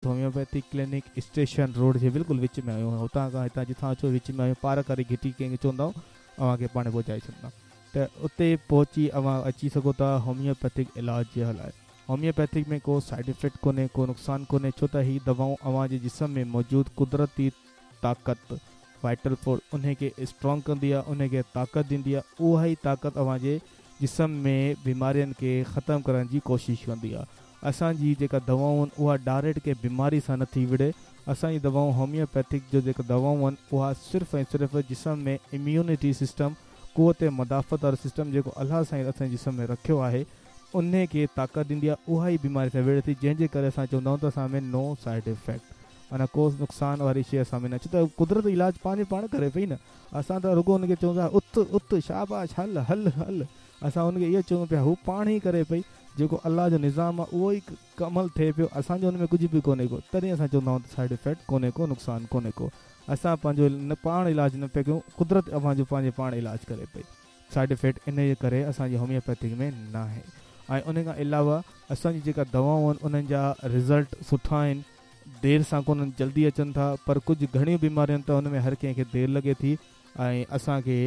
Homeopathic clinic station road جي بلڪل وچ ۾ آهيون هتان کان هتان جتان اچو وچ ۾ آهيون پارڪ واري گهٽي ڪنهن کي چوندؤ اوهان کي پاڻ پهچائي ڇڏندا ته اتي پهچي اوهان اچي سگهو ٿا هوميوپيٿڪ علاج جي لاء هوميوپيٿڪ ۾ ڪو سائيڊ افيڪٽ ڪونهي ڪو نقصان ڪونهي ڇو ته هي دوائون اوهان جي جسم ۾ موجود قدرتي طاقت وائٽل فورس انهي کي اسٽرانگ ڪندي آهي انهي کي طاقت ڏيندي آهي اها ئي طاقت اوهان جي جسم ۾ بيمارين کي ختم ڪرڻ جي ڪوشش ڪندي آهي اسان جي جيڪا دوائون آهن اها ڊائريڪٽ ڪنهن بيماري سان نٿي وڙهي اسان جي دوائون هوميوپيٿڪ جو جيڪا دوائون آهن اها صرف ۽ صرف جسم ۾ اميونٽي سسٽم قوت مدافعت وارو سسٽم جيڪو الله سائين اسان جي جسم ۾ رکيو آهي انهي کي طاقت ڏيندي آهي اها ئي بيماري سان وڙهي ٿي جنهن جي ڪري اسان چوندا آهيون ته اسان ۾ نو سائيڊ افيڪٽ معنيٰ ڪو نقصان واري شي اسان ۾ نه ڇو ته قدرت علاج پنهنجي پاڻ ڪري پئي نه اسان ته رڳو ان کي چئون ٿا اٿ اٿ شاباش هل هل هل اسان ان کي اهو چئون پيا هو پاڻ ئي ڪري پئي جيڪو الله جو نظام آ اهو ئي عمل ٿئي پيو اسان جو ان ۾ ڪجهه به ڪونهي ڪو تڏهن اسان چوندا آهيون ته سائيڊ افيڪٽ ڪونهي ڪو نقصان ڪونهي ڪو اسان پنهنجو پاڻ علاج نه پيا ڪيون قدرت اوهان جو پنهنجي پاڻ علاج ڪري پئي سائيڊ افيڪٽ انهي جي ڪري اسان جي هوميوپيٿڪ ۾ ناهي ۽ ان کان علاوه اسان جي جيڪا دوائون آهن انهن جا رزلٽ سٺا آهن دير سان ڪونهن جلدي اچن ٿا پر ڪجهه گهڻيون بيماريون آهن ته ان ۾ هر ڪنهن کي دير لڳي ٿي ۽ اسان کي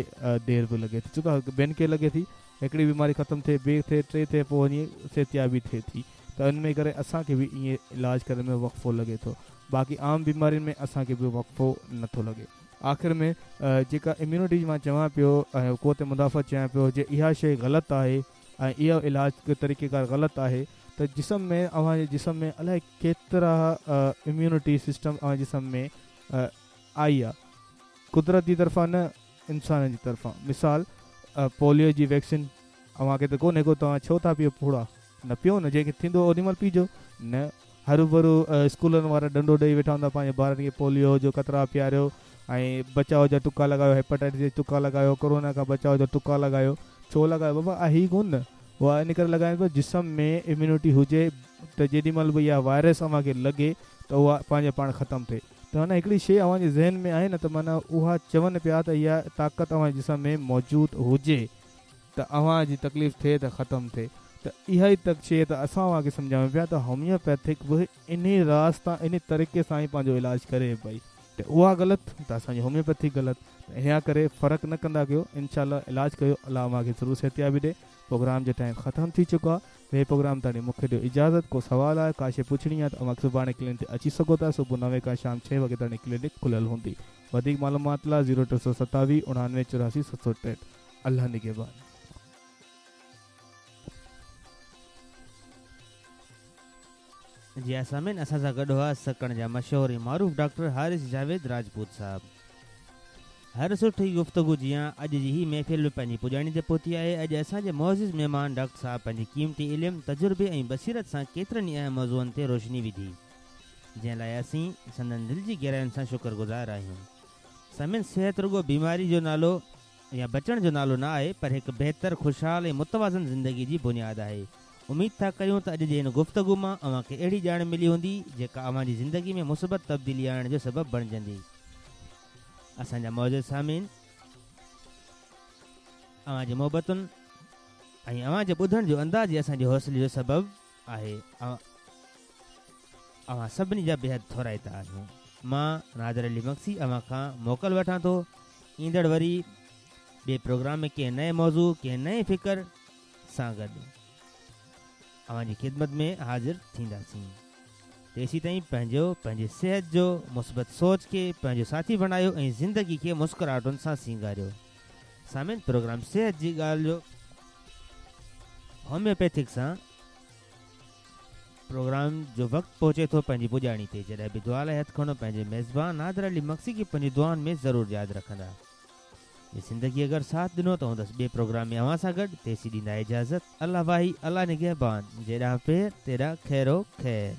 دير به لڳي ٿي ڇو ته ٻين کي لڳي ٿي هڪڙي بيماري ختم ٿئي ٻي ٿئي ٽي ٿئي پوء وڃي صحتيابي ٿئي ٿي ته ان ۾ ڪري اسان کي به ائين علاج ڪرڻ ۾ وقفو لڳي ٿو باقي عام بيمارين ۾ اسان کي به وقفو نٿو لڳي آخر ۾ جيڪا اميونٽي جي مان چوان پيو ۽ قوت مدافعت چوان پيو جي اها شيء غلط آهي ۽ اهو علاج طريقيڪار غلط آهي ته جسم ۾ اوهان جي جسم ۾ الائي ڪيترا اميونٽي سسٽم اوهان جي جسم ۾ آئي آ قدرت جي طرفان نه انسانن جي طرفان مثال پوليو جي ويڪسين اوهان کي ته ڪونهي ڪو توهان ڇو ٿا پيئو ڦوڙا نه پيئو نه جنهن کي ٿيندو اوڏي مهل پيئجو نه هروڀرو اسڪولن وارا ڏنڊو ڏئي ويٺا هوندا پنهنجي ٻارن کي پوليو جو قطرا پياريو ۽ بچاء جا ٽڪا لڳايو هيپاٽائٽس جا ٽڪا لڳايو ڪورونا کان بچاء جا ٽڪا لڳايو ڇو لڳايو بابا آهي ئي ڪونه نه اها ان ڪري لڳائين پيا جسم ۾ اميونٽي هجي ته جيڏي مهل به اها وائرس اوهان کي لڳي ته اها پنهنجي پاڻ ختم ٿئي ته معنيٰ هڪڙي شيء اوهان جي ذهن ۾ آهي نه ته معنيٰ اها چون پيا ته اها طاقت اوهان جي جسم ۾ موجود هجي ته اوهان جي تڪليف ٿئي ته ختم ٿئي ته اها ئي ته شيء ته اسان اوهان کي سمجهايون پيا ته هوميوپيٿڪ به انهي راز تان انهي طريقي سان ئي پنهنجو علاج ڪري پئي ته اها غلط ته اسان جي هوميوپيٿڪ غلط ته انهيء ڪري فرق نه ڪندا ڪيو انشاء الله علاج ڪيو الله اوهان کي ضرور صحتيابي ڏي پروگرام جو ٽائيم ختم ٿي چڪو آهي ٻئي پروگرام تاڻي مون کي ڏيو اجازت ڪو سوال آهي ڪا شي پڇڻي آهي ته اوهان سڀاڻي ڪلينڪ تي اچي سگهو ٿا صبح نوين کان شام ڇهين وڳي تاڻي ڪلينڪ کليل هوندي وڌيڪ معلومات لاء زيرو 327 89 84 763 الله نگهبان. جي ها سامعين اسان سان گڏ هئا سڪرنڊ جا مشهور ۽ معروف ڊاڪٽر حارث جاويد راجپوت صاحب. هر سٺي گفتگو جيان اڄ جي هي محفل به پنهنجي پڄاڻي تي پهتي آهي. اڄ اسان جي معزز مهمان ڊاڪٽر صاحب پنهنجي قيمتي علم، تجربي ۽ بصيرت سان ڪيترن ئي اهم موضوعن تي روشني وڌي، جنهن لاء اسين سندن دل جي گهراين سان شڪر گذار آهيون. سامعين صحت رڳو بيماري جو نالو يا بچڻ جو نالو نه آهي پر هڪ بهتر، خوشحال ۽ متوازن زندگي جي بنياد آهي. اميد ٿا ڪريون ته اڄ جي هن گفتگو مان اوهان کي اهڙي ڄاڻ ملي هوندي جيڪا اوهان جي زندگي ۾ مثبت تبديلي آڻڻ جو سبب بڻجندي. اسان جا معزز سامعين اوهان جي محبتن ۽ اوهان جي ٻڌڻ جو انداز ئي اسان جي حوصلي جو سبب آهي. اوهان سڀني جا بيحد ٿورائتا آهيون. مان نادر علي مگسي اوهان کان موڪل وٺان ٿو. ايندڙ وري ٻئي پروگرام ۾ ڪنهن نئين موضوع ڪنهن نئين فڪر سان گڏ اوهان جي خدمت ۾ حاضر ٿينداسين. تيسيتائين پنهنجو پنهنجي صحت جو مثبت سوچ کي پنهنجو ساٿي بڻايو ۽ زندگي کي مسڪراهٽن سان سينگاريو. سامعين پروگرام صحت جي ڳالهه جو هوميوپيٿڪ سان پروگرام جو وقت پهچي ٿو پنهنجي پڄاڻي تي جڏهن به دعا لاء هٿ کڻو پنهنجي ميزبان نادر علي مگسي کي پنهنجي دعائن ۾ ضرور ياد رکندا. جي زندگي اگر ساٿ ڏنو ته هوندس ٻئي پروگرام ۾ اوهان سان گڏ تيسين ڏيندا اجازت الله واهي الله نگهبان جيڏانهن پير تيڏانهن خير و خير.